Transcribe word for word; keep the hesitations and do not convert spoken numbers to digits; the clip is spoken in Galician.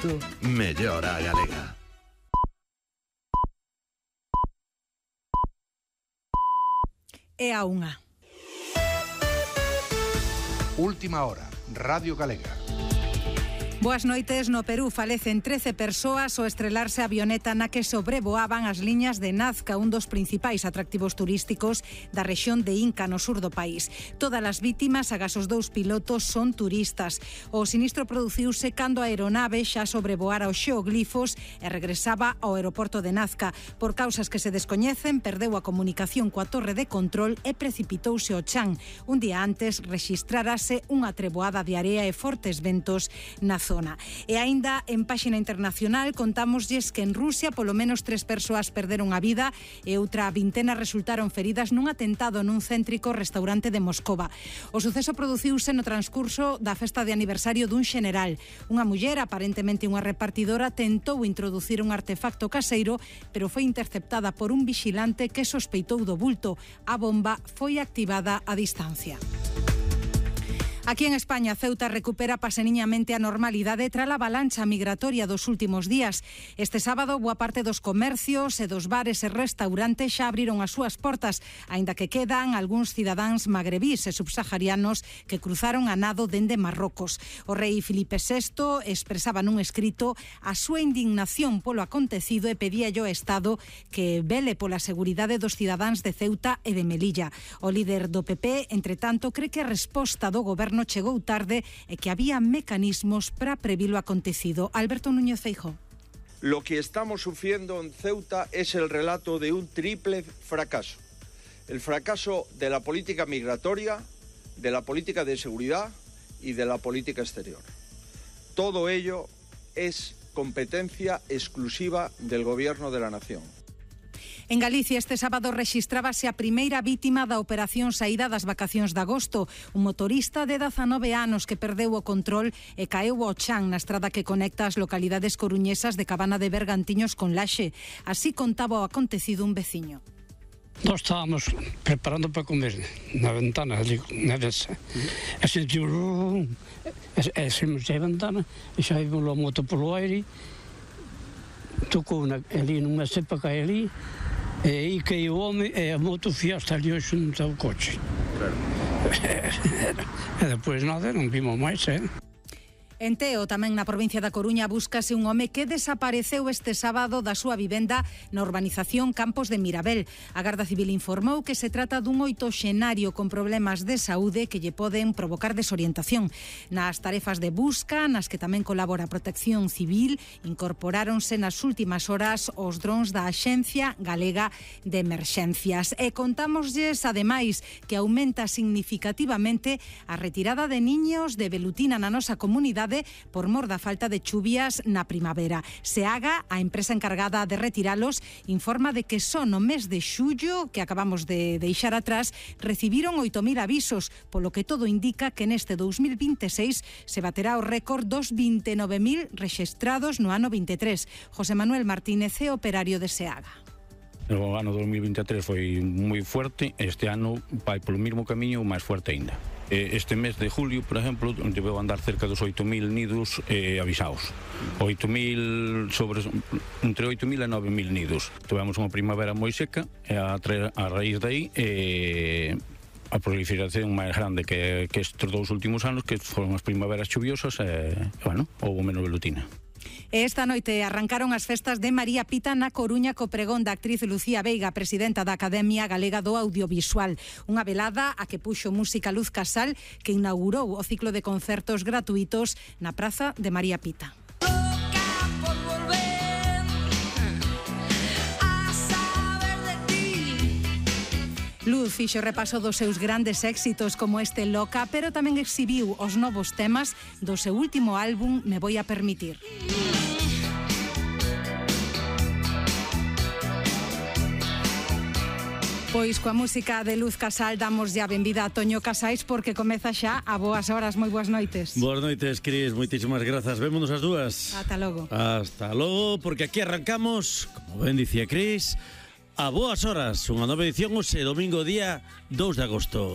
xeito, mellor a galega. É a unha. Última hora, Radio Galega. Boas noites. No Perú falecen trece persoas ao estrelarse a avioneta na que sobrevoaban as liñas de Nazca, un dos principais atractivos turísticos da rexión de Inca, no sur do país. Todas as vítimas, agás os dous pilotos, son turistas. O sinistro produciuse cando a aeronave xa sobrevoara os xeoglifos e regresaba ao aeroporto de Nazca. Por causas que se descoñecen, perdeu a comunicación coa torre de control e precipitouse ao chan. Un día antes rexistrarase unha treboada de area e fortes ventos na zona. E aínda en páxina internacional contámoslles que en Rusia polo menos tres persoas perderon a vida e outra vintena resultaron feridas nun atentado nun céntrico restaurante de Moscova. O suceso produciuse no transcurso da festa de aniversario dun xeneral. Unha muller, aparentemente unha repartidora, tentou introducir un artefacto caseiro, pero foi interceptada por un vigilante que sospeitou do bulto. A bomba foi activada a distancia. Aquí en España, Ceuta recupera paseniñamente a normalidade tras a avalancha migratoria dos últimos días. Este sábado, boa parte dos comercios e dos bares e restaurantes xa abriron as súas portas, aínda que quedan algúns cidadáns magrebís e subsaharianos que cruzaron a nado dende Marrocos. O rei Filipe sexto expresaba nun escrito a súa indignación polo acontecido e pedía ao Estado que vele pola seguridade dos cidadáns de Ceuta e de Melilla. O líder do P P, entre tanto, cree que a resposta do goberno chegou tarde e que había mecanismos para previr lo acontecido. Alberto Núñez Feijóo. Lo que estamos sufriendo en Ceuta es el relato de un triple fracaso. El fracaso de la política migratoria, de la política de seguridad y de la política exterior. Todo ello es competencia exclusiva del Gobierno de la Nación. En Galicia este sábado rexistrábase a primeira vítima da operación saída das vacacións de agosto, un motorista de dezanove anos que perdeu o control e caeu ao chan na estrada que conecta as localidades coruñesas de Cabana de Bergantiños con Laxe. Así contaba o acontecido un veciño. Nós estábamos preparando para comer na ventana, ali, na desa. E sentiu... E saímos da ventana e xa vimos a moto polo aire, tocou na, ali nunha cepa que hai ali, e aí caiu o home e a moto fiaste ali ao xunto ao coche. Claro. E depois nada, non vimos máis, eh? En Teo, tamén na provincia da Coruña, búscase un home que desapareceu este sábado da súa vivenda na urbanización Campos de Mirabel. A Garda Civil informou que se trata dun oitoxenario con problemas de saúde que lle poden provocar desorientación. Nas tarefas de busca, nas que tamén colabora a Protección Civil, incorporáronse nas últimas horas os drons da Axencia Galega de Emerxencias. E contámoslles, ademais, que aumenta significativamente a retirada de niños de velutina na nosa comunidade por mor da falta de chuvias na primavera. Seaga, a empresa encargada de retiralos, informa de que só no mes de xullo, que acabamos de deixar atrás, recibiron oito mil avisos, polo que todo indica que neste dous mil vinteseis se baterá o récord dos vinte e nove mil rexistrados no ano vinte e tres. José Manuel Martínez é operario de Seaga. O ano dos mil vinte e tres foi moi fuerte, este ano vai polo mesmo camiño ou máis fuerte aínda. Este mes de julio, por exemplo, debeu andar cerca dos oito mil nidos eh, avisados. oito mil sobre, entre oito mil e nove mil nidos. Tivemos unha primavera moi seca e a, a raíz dai eh, a proliferación máis grande que, que estes dous últimos anos, que foron as primaveras chuviosas e, bueno, houve menos velutina. Esta noite arrancaron as festas de María Pita na Coruña co pregón da actriz Lucía Veiga, presidenta da Academia Galega do Audiovisual. Unha velada a que puxo música Luz Casal, que inaugurou o ciclo de concertos gratuitos na Praza de María Pita. Luz fixo repaso dos seus grandes éxitos como este Loca, pero tamén exhibiu os novos temas do seu último álbum Me Voy a Permitir. Pois coa música de Luz Casal damos ya benvida a Toño Casais porque comeza xa a boas horas. Moi boas noites. Boas noites, Cris, moitísimas grazas. Vémonos as dúas. Ata logo. Hasta logo, porque aquí arrancamos, como ben dicía Cris, a boas horas, unha nova edición hoxe, domingo día dous de agosto.